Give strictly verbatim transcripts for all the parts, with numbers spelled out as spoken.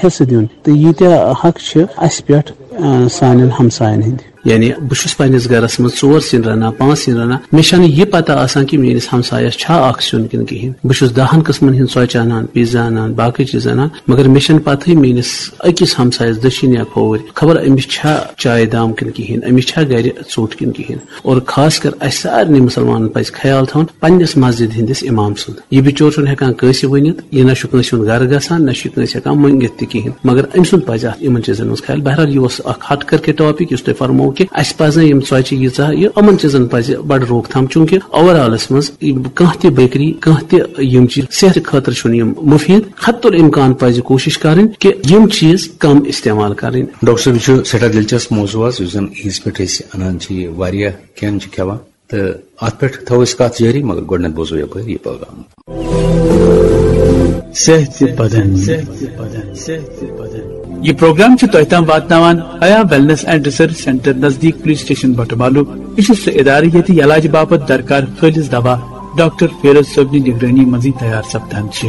حصہٕ دیُن، تہٕ ییٖتیٛاہ حق چھِ اَسہِ پٮ۪ٹھ، آ، سانٮ۪ن ہمساین ہٕنٛدۍ۔ یعنی بہٕ چھُس پننِس گرس منٛز ژور سِنۍ رنان، پانٛژھ سِنۍ رنان، مےٚ چھنہٕ یہِ پتہ آسان کہِ میٲنِس ہمسایس چھا اکھ سیُن کِنہٕ کِہینۍ۔ بہٕ چھُس دہن قٕسمن ہٕنٛدۍ ژۄچہِ انان، پیزا انان، باقٕے چیٖز انان، مگر مےٚ چھنہٕ پتہٕے میٲنِس أکِس ہمسایس دٔچھِنۍ یا کھووٕرۍ خبر أمِس چھا چایہِ دام کِنہٕ کِہینۍ، أمِس چھا گرِ ژوٚٹ کِنہٕ کِہینۍ۔ اور خاص کر اسہِ سارنٕے مسلمانن پزِ خیال تھاوُن پننِس مسجد ہٕنٛدِس امام سُنٛد۔ یہِ بِچور چھُنہٕ ہٮ۪کان کٲنٛسہِ ؤنِتھ، یہِ نہ چھُ کٲنٛسہِ ہُنٛد گرٕ گژھان، نہ چھُ یہِ کٲنٛسہِ ہٮ۪کان مٔنگِتھ تہِ کِہینۍ۔ مگر أمۍ سُنٛد پزِ اتھ یِمن چیٖزن ہُنٛد خیال۔ بہرحال، یہِ اوس اکھ ہٹ کر کے ٹاپک یُس تۄہہِ فرموو کہِ اسہِ پزن یِم ژۄچہِ ییٖژاہ، یہِ یِمن چیٖزن پزِ بڑٕ روک تھام، چوٗنکہِ اوور آلس منٛز یِم کانٛہہ تہِ بیکری، کانٛہہ تہِ یِم چیٖز صحتہٕ خٲطرٕ چھُنہٕ یِم مُفیٖد۔ حتی الامکان پزِ کوٗشش کرٕنۍ کہِ یِم چیٖز کم استعمال کرٕنۍ۔ ڈاکٹر صٲب، یہِ چھُ سٮ۪ٹھاہ دلچسپ موضوع اکھ، یُس زن عیٖذ پٮ۪ٹھ أسۍ انان چھِ، یہِ واریاہ کھٮ۪ن چھِ کھٮ۪وان۔ تہٕ اتھ پٮ۪ٹھ تھاوو أسۍ کتھ جٲری، مگر گۄڈٕنٮ۪تھ بوزو یپٲرۍ یہِ پیغام۔ صحت بدن۔ یہ پروگرام چھُ تۄہہِ تام واتناوان حیا ویلنس اینڈ ریسرچ سینٹر نزدیک پولیس اسٹیشن بٹہٕ مالو۔ یہِ چھُ سُہ ادارٕ ییٚتہِ علاج باپتھ درکار خٲلص دوا ڈاکٹر فیروز صٲبنہِ نگرٲنی منٛزٕے تیار سپدان چھِ۔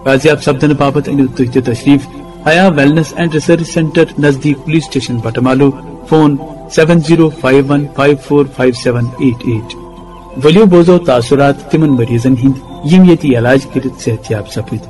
بازیاب سپدنہٕ باپتھ أنِو تُہۍ تہِ تشریف Haya wellness and research centre نزدیک police station Batamaloo. Phone seven zero five one five four five seven eight eight۔ ؤلِو بوزو تاثرات تِمن مریضن ہٕنٛدۍ یِم ییٚتہِ علاج کٔرِتھ صحت یاب سپٕدۍ۔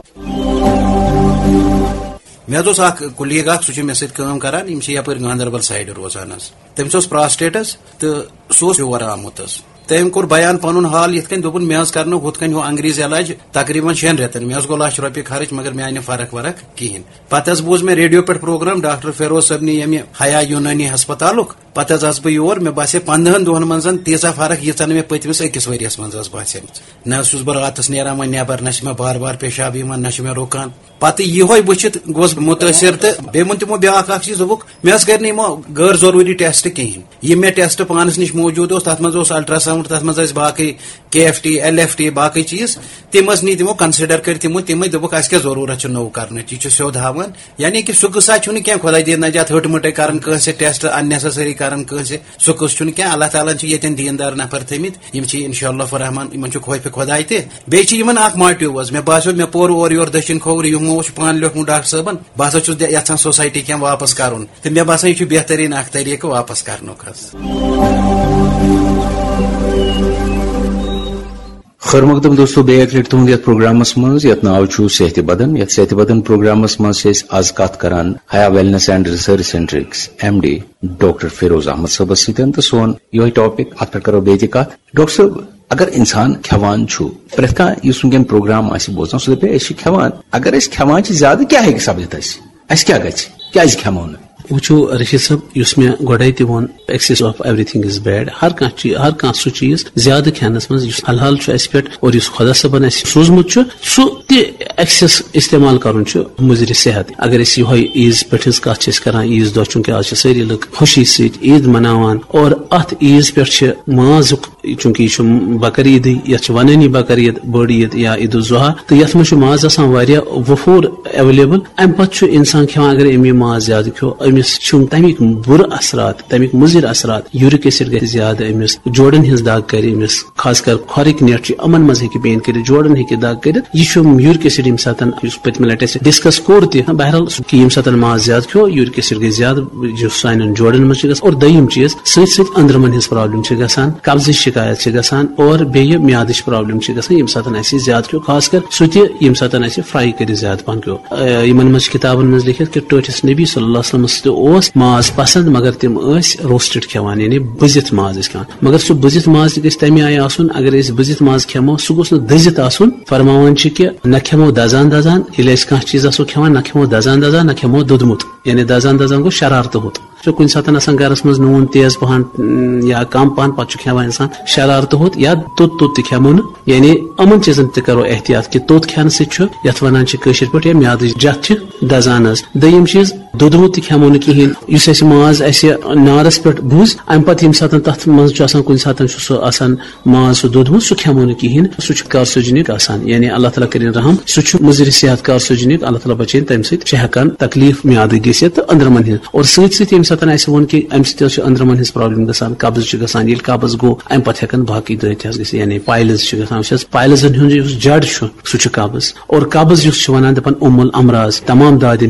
مےٚ حظ اوس اکھ کُلیٖگ اکھ، سُہ چھُ مےٚ سۭتۍ کٲم کران، یِم چھِ یپٲرۍ گاندربل سایڈٕ روزان حظ۔ تٔمِس اوس پراسٹیٹ حظ، تہٕ سُہ اوس یور آمُت حظ۔ تٔمۍ کوٚر بیان پنُن حال یِتھ کٔنۍ، دوٚپُن، مےٚ حظ کرنو ہُتھ کٔنۍ ہُہ انگریز علاج تقریباً شٮ۪ن رٮ۪تن، مےٚ حظ گوٚو لچھ رۄپیہِ خرٕچ، مگر مےٚ آیہِ نہٕ فرق ورق کِہینۍ۔ پتہٕ حظ بوٗز مےٚ ریڈیو پٮ۪ٹھ پروگرام ڈاکٹر فیروز صٲبنہِ، ییٚمہِ حیا یوٗنٲنی ہسپتالُک۔ پتہٕ حظ آس بہٕ یور، مےٚ باسے پنٛدہن دۄہن منٛز تیٖژاہ فرق، ییٖژاہ نہٕ مےٚ پٔتمِس أکِس ؤریس منٛز ٲس باسیمٕژ۔ نہ حظ چھُس بہٕ راتس نیران وۄنۍ نٮ۪بر، نہ چھِ مےٚ بار بار پیشاب یِوان، نہ چھُ مےٚ رُکان۔ پتہٕ یِہوے وٕچھِتھ گوس بہٕ مُتٲثر، تہٕ بیٚیہِ ووٚن تِمو بیٛاکھ اکھ چیٖز، دوٚپُکھ، مےٚ حظ کَرِ نہٕ یِمو غٲر ضروٗری ٹیسٹ کِہینۍ۔ یہِ مےٚ ٹیسٹ پانس نِش موٗجوٗد اوس، تتھ منٛز اوس الٹراساؤنڈ، تتھ منٛز ٲسۍ باقٕے K F T, L F T, باقٕے چیٖز، تِم حظ نی تِمو کنسیڈر کٔرِتھ تِمو، تِمے دوٚپُکھ، اسہِ کیٛاہ ضروٗرت چھِ نوٚو کرنٕچ، یہِ چھُ سیوٚد ہاوان۔ یعنی کہِ سُہ قٕصہ چھُنہٕ کینٛہہ، خۄداے دِیِن نجات، ۂٹۍ مٔٹۍ کرن کٲنٛسہِ ٹیسٹ، unnecessary کرن کٲنٛسہِ، سُہ قٕصہٕ چھُنہٕ کینٛہہ۔ اللہ تعالیٰ ہن چھِ ییٚتٮ۪ن دیٖندار نفر تھٲمٕتۍ، یِم چھِ انشاءاللہ الرحمن، یِمن چھُ خوفِ خۄداے تہِ۔ بیٚیہِ چھِ یِمن اکھ موٹیو حظ، مےٚ باسیو، مےٚ پوٚر اورٕ یورٕ دٔچھِنۍ کھووُر، یِمو اوس پانہٕ لیوٗکھمُت ڈاکٹر صٲبن، بہٕ ہسا چھُس دِ-، یژھان سوسایٹی کینٛہہ واپس کرُن، تہٕ مےٚ باسان، یہِ چھُ بہتریٖن اکھ طریٖقہٕ واپس کرنُک حظ۔ خٲر مقدم دوستو، بیٚیہِ اکہِ لٹہِ تُہُنٛد یتھ پروگرامس منٛز، یتھ ناو چھُ صحتِ بدن۔ یتھ صحتِ بدن پروگرامس منٛز چھِ أسۍ از کتھ کران حیا ویلنس اینڈ ریسرچ سینٹرٕکۍ M D doctor Feroz Ahmad صٲبس سۭتۍ، تہٕ سون یِہوٚے ٹاپک، اتھ پٮ۪ٹھ کرو بیٚیہِ تہِ کتھ۔ ڈاکٹر صٲب، اگر انسان کھٮ۪وان چھُ، پرٛٮ۪تھ کانٛہہ یُس وٕنکٮ۪ن پروگرام آسہِ بوزان، سُہ دپہِ، أسۍ چھِ کھٮ۪وان۔ اگر أسۍ کھٮ۪وان چھِ زیادٕ، کیٛاہ ہیٚکہِ سپدِتھ اَسہِ؟ اَسہِ کیٛاہ گژھِ؟ کیٛازِ کھٮ۪مو نہٕ؟ وٕچھِو رشید صٲب، یُس مےٚ گۄڈَے تہِ ووٚن، excess of everything is bad۔ ہر کانٛہہ چیٖز، ہر کانٛہہ سُہ چیٖز زیادٕ کھٮ۪نَس منٛز یُس حلال چھُ اَسہِ پٮ۪ٹھ اور یُس خۄدا صٲبَن اَسہِ سوٗزمُت چھُ، سُہ تہِ excess استعمال کَرُن چھُ مُضرِ صحت۔ اگر أسۍ یِہوٚے عیٖذ پٮ۪ٹھ ہٕنٛز کَتھ چھِ أسۍ کَران، عیٖذ دۄہ چوٗنٛکہِ آز چھِ سٲری لُکھ خوشی سۭتۍ عیٖد مَناوان اور اَتھ عیٖذ پٮ۪ٹھ چھِ مازُک، چوٗنٛکہِ یہِ چھُ بکر عیٖدٕے، یَتھ چھِ وَنٲنی بکر عید، بٔڑ عید یا عید الضحیٰ، تہٕ یَتھ منٛز چھُ مازَس آسان واریاہ وفوٗر available۔ اَمہِ پتہٕ چھُ اِنسان کھٮ۪وان، اگر أمۍ یہِ ماز زیادٕ کھیوٚو، أمِس چھُ تَمِکۍ بُرٕ اثرات، تَمِکۍ مُضِر اثرات، یوٗرِک ایسڈ گژھِ زیادٕ أمِس، جوڑن ہٕنٛز دگ کرِ أمِس، خاص کر کھۄرٕکۍ نٮ۪ٹ چھِ، یِمن منٛز ہیٚکہِ پین کٔرِتھ، جوڑن ہیٚکہِ دگ کٔرِتھ۔ یہِ چھُ یوٗرِک ایسڈ ییٚمہِ ساتہٕ، یُس پٔتمہِ لٹہِ اَسہِ ڈسکس کوٚر تہِ، بہرحال، سُہ کہِ ییٚمہِ ساتہٕ ماز زیادٕ کھیوٚو، یوٗرِک ایسڈ گژھِ زیادٕ، یُس سانٮ۪ن جوڑن منٛز چھُ گژھان۔ اور دوٚیِم چیٖز، سۭتۍ سۭتۍ أنٛدرمن ہٕنٛز پرابلم چھِ گژھان، قبضٕچ شکایت چھِ گژھان اور بیٚیہِ میادٕچ پرابلم چھِ گژھان، ییٚمہِ ساتہٕ اَسہِ زیادٕ کھیوٚو، خاص کر سُہ تہِ ییٚمہِ ساتہٕ اَسہِ فراے کٔرِتھ زیادٕ پہن کھیوٚو۔ آ، یِمن منٛز چھِ کِتابن منٛز لیٚکھِتھ کہِ ٹٲٹھِس نبی صلی اللہ علیہ وسلمس تہِ اوس ماز پسنٛد، مگر تِم ٲسۍ روسٹڈ کھٮ۪وان، یعنی بٔزِتھ ماز ٲسۍ کھٮ۪وان۔ مگر سُہ بٔزِتھ ماز تہِ گژھِ تَمہِ آیہِ آسُن، اگر أسۍ بٔزِتھ ماز کھٮ۪مو، سُہ گوٚژھ نہٕ دٔزِتھ آسُن۔ فرماوان چھِ کہِ نہ کھٮ۪مو دزان دزان، ییٚلہِ أسۍ کانٛہہ چیٖز آسو کھٮ۪وان، نہ کھٮ۪مو دزان دزان، نہ کھٮ۪مو دوٚدمُت، یعنی دزان دزان گوٚو شرارتہٕ ہوٚت۔ چھُ کُنہِ ساتہٕ آسان گرس منٛز نوٗن تیز پہن، م، یا کم پہن، پتہٕ چھُ کھٮ۪وان انسان شرارتہٕ ہوٚت یا توٚت توٚت تہِ کھٮ۪مو نہٕ۔ یعنی یِمن چیٖزن تہِ کرو احتیاط کہِ توٚت کھٮ۪نہٕ سۭتۍ چھُ، یتھ ونان چھِ کٲشِر پٲٹھۍ، یا میادٕچ جتھ چھِ دزان حظ۔ دوٚیِم چیٖز، دوٚدمُت تہِ کھٮ۪مو نہٕ کِہینۍ۔ یُس اَسہِ ماز اَسہِ نارس پٮ۪ٹھ بُز، امہِ پتہٕ ییٚمہِ ساتہٕ تتھ منٛز چھُ آسان، کُنہِ ساتہٕ چھُ سُہ آسان ماز سُہ دوٚدمُت، سُہ کھٮ۪مو نہٕ کِہینۍ، سُہ چھُ کارسوجنک آسان، یعنی اللہ تعالیٰ کٔرِن رحم، سُہ چھُ مُضرِ صحت کارسوجنک، اللہ تعالیٰ بچٲیِن تَمہِ سۭتۍ، چھِ ہٮ۪کان تکلیف میادٕکۍ گٔژھِتھ تہٕ أنٛدرمن ہٕنٛز۔ اور سۭتۍ سۭتۍ ییٚمہِ ساتہٕ اَسہِ ووٚن کہِ اَمہِ سۭتۍ حظ چھِ أنٛدرمن ہٕنٛز پرابلم گژھان، قبض چھُ گژھان، ییٚلہِ قبض گوٚو، اَمہِ پتہٕ ہٮ۪کن باقٕے دٲدۍ تہِ حظ گٔژھِتھ، یعنی پایلز چھِ گژھان، وٕچھ حظ، پایلزن ہُنٛد یُس جڑ چھُ، سُہ چھُ قبض۔ اور قبض یُس چھُ وَنان، دَپان اُم الامراض، تمام دادٮ۪ن ہٕنٛز